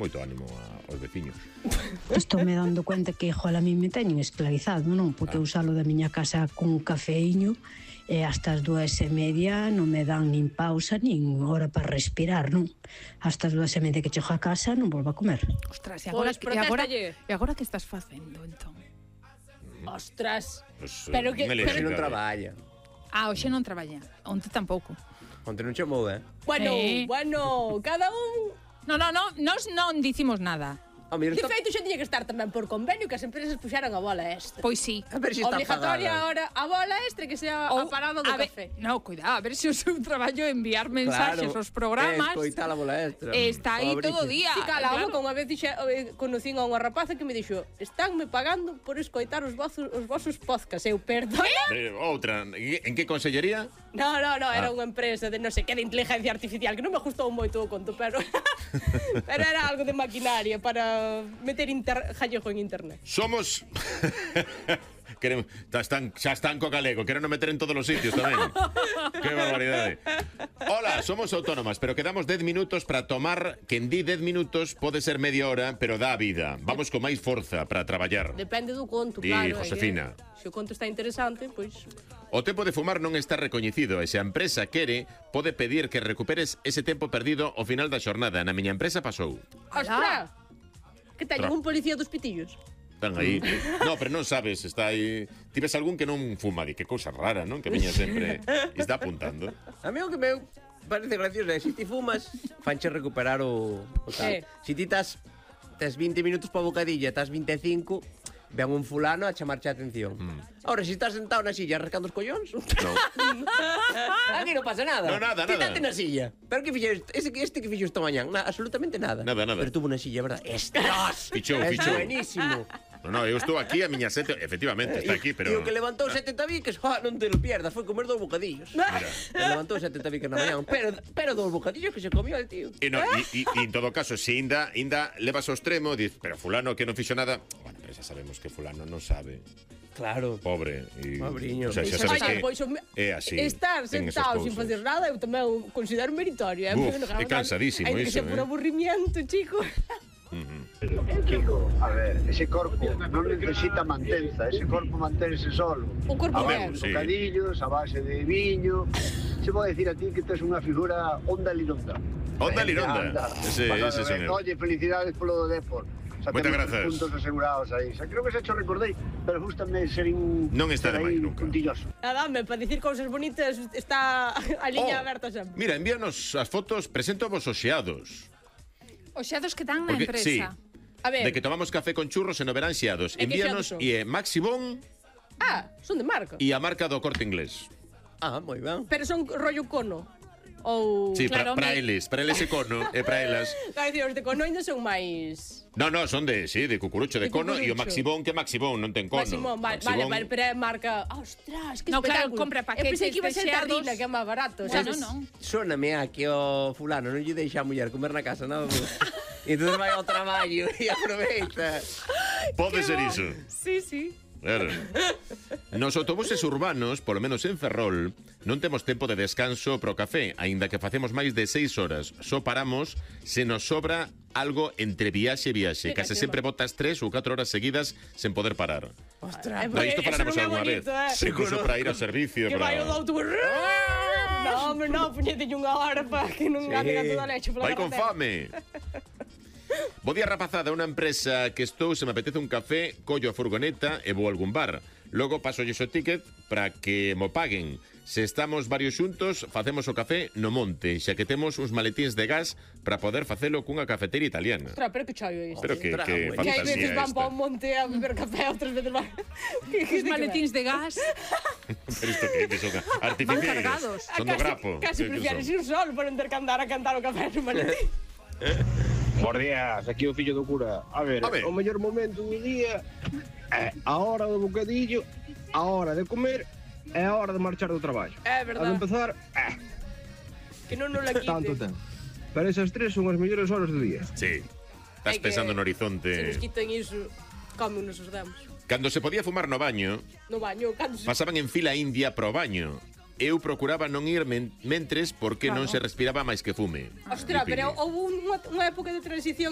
moito ánimo aos veciños. Estou me dando cuenta que, jola, a mí me teñen esclavizado, non? Porque eu salo da miña casa cun cafeíño e hasta as 2:30 non me dan nin pausa nin hora para respirar, non? Hasta as 2:30 que chego a casa non volvo a comer. Ostras, Pois protéstalle. e agora que estás facendo, entón? Ostras. Pues, Pero que- me Pero lexo, non claro. traballa. Hoxe non traballa, onte tampouco. Onte non chamou, Bueno, Sí. bueno, cada un... Nos non dicimos nada. A mellor De está... feito, xa tiña que estar tamén por convenio que as empresas puxaran a bola extra. Pois sí. A ver se está Obligatoria pagada. ahora a bola extra que sea a parada do a ver, café. No, cuidado, a ver se o seu traballo é enviar mensaxes aos programas. Escoitar a bola extra. Está aí Pobriña. todo o día. Sí, cala, claro. que unha vez conocín a unha rapaza que me dixo: "Estánme pagando por escoitar os vosos podcasts". Eu, perdona? Outra, en que consellería? No, era unha empresa de non sei que de inteligencia artificial, que non me gustou moito o conto, pero pero era algo de maquinaria para meter gallego en internet. Somos... xa están co galego, quero non meter en todos os sitios tamén. Que barbaridade. Hola, somos autónomas, pero quedamos 10 minutos para tomar, que en di 10 minutos pode ser media hora, pero dá vida. Vamos con máis forza para traballar. Depende do conto, Di, claro. Josefina. Se o conto está interesante, pois... O tempo de fumar non está recoñecido e se a empresa quere, pode pedir que recuperes ese tempo perdido ao final da xornada. Na miña empresa pasou. ¡Ostras! Que teñen Tra- un policía dos pitillos? Están aí. No, pero non sabes, está aí. Ti ves algún que non fuma, di que cousa rara, non? Que viña sempre e está apuntando. A mí o que me parece gracioso é se ti fumas, fanche recuperar o tal. Se ti tes 20 minutos para bocadilla, estás 25, ven un fulano a chamarche a atención. Ahora, se estás sentado na silla rascando os collóns, No. aquí non pasa nada. No, nada, Quítate nada. na silla. Pero que fixo este que fixo esta mañán? Absolutamente nada. Nada. Pero tuvo na silla, verdad? Estás. Fichou. É buenísimo. No, eu estou aquí a miña sete, efectivamente, está aquí, pero... E o que levantou 7 tabiques, non te lo pierdas, foi comer 2 bocadillos. Mira. Levantou 7 tabiques na mañán, pero 2 bocadillos que se comió el tío. E no, en todo caso, se inda levas ao extremo, diz, pero fulano que non fixo nada, bueno, pero xa sabemos que fulano non sabe. Claro. Pobre. E, Pobriño. O sea, xa sabes Oye, que pois, é así. estar ten esas sentado sin cousas. facer nada eu tamén o considero meritorio. Buf, é cansadísimo Hai que iso, ser por aburrimiento, chico. Chico, a ver, ese corpo non necesita mantenza, ese corpo mantense solo. O corpo A ben. base Sí. de bocadillos, a base de viño. Se vou decir a ti que tes unha figura onda lironda. Onda lironda. Anda. Ese Pasado son ben. eu. Oye, felicidades polo do Depor. Xa Moitas temos grazas. puntos asegurados aí. Xa creo que se cho recordei, pero gustame ser Non está de máis nunca. puntilloso. Nada, para dicir cousas bonitas está a liña Oh, aberta sempre. Mira, envíanos as fotos, presento vos os xeados. Os xeados que dan na Porque, empresa. sí. A ver, De que tomamos café con churros e no verán xeados. E que Envíanos xeados son? e Maximón son de marca. e a marca do Corte Inglés. Ah, moi ben. Pero son rollo cono. Ou... Sí, Claro, para me- eles e cono, e para elas. Claro, decir, os de cono ainda son máis... No, son de cucurucho de De cono e o cucurucho. Maximón que Maximón non ten cono. Maximón, vale, pero é marca... Ostras, que No, claro, espectáculo. compra paquetes Eu pensei que iba a ser de xeados. Tardina, que é máis barato. Bueno, sabes? non. Sóname a que o fulano non lle deixa a muller comer na casa, nada. E entón vai ao traballo e aproveita. Pode ser iso. Sí, sí. Claro. Nos autobuses urbanos, polo menos en Ferrol, non temos tempo de descanso pro café, aínda que facemos máis de 6 horas. Só paramos se nos sobra algo entre viaxe e viaxe. Mira, Case que sempre botas 3 ou 4 horas seguidas sen poder parar. Ostras, No, isto Eso falaremos non é algunha vez. bonito, eh. Incluso para ir ao servicio. Que vai para... o do autobús. No, hombre, no, puñetelle unha hora para que non ande a toda leche pola Vai con carretera. fame. Bo día, rapazada, unha empresa que estou, se me apetece un café, collo a furgoneta e vou a algún bar. Logo paso o ticket para que mo paguen. Se estamos varios xuntos, facemos o café no monte, xa que temos uns maletíns de gas para poder facelo cunha cafeteira italiana. Ostras, pero que chollo é isto. Pero que Ostras, fantasía Que hai veces van para esta. un monte a beber café, outras veces van... Os maletíns de gas. Pero isto que son artificiais. cargados. Son do grapo. Casi Que prefieres son? ir sol por non ter que andar a cantar o café no maletín. Bos días, aquí o fillo do cura. A ver, o mellor momento do día é a hora do bocadillo, a hora de comer e a hora de marchar do traballo. É A de verdade. empezar, Que non nos la quite. tanto ten. Pero esas tres son as mellores horas do día. Sí. Estás É que pensando no Se horizonte. nos quiten iso, cómenos os demos. Cando se podía fumar no baño, No baño, cando se... pasaban en fila india pro baño. Eu procuraba non ir mentres porque non se respiraba máis que fume. Ostras, Di pero Pili. houve unha época de transición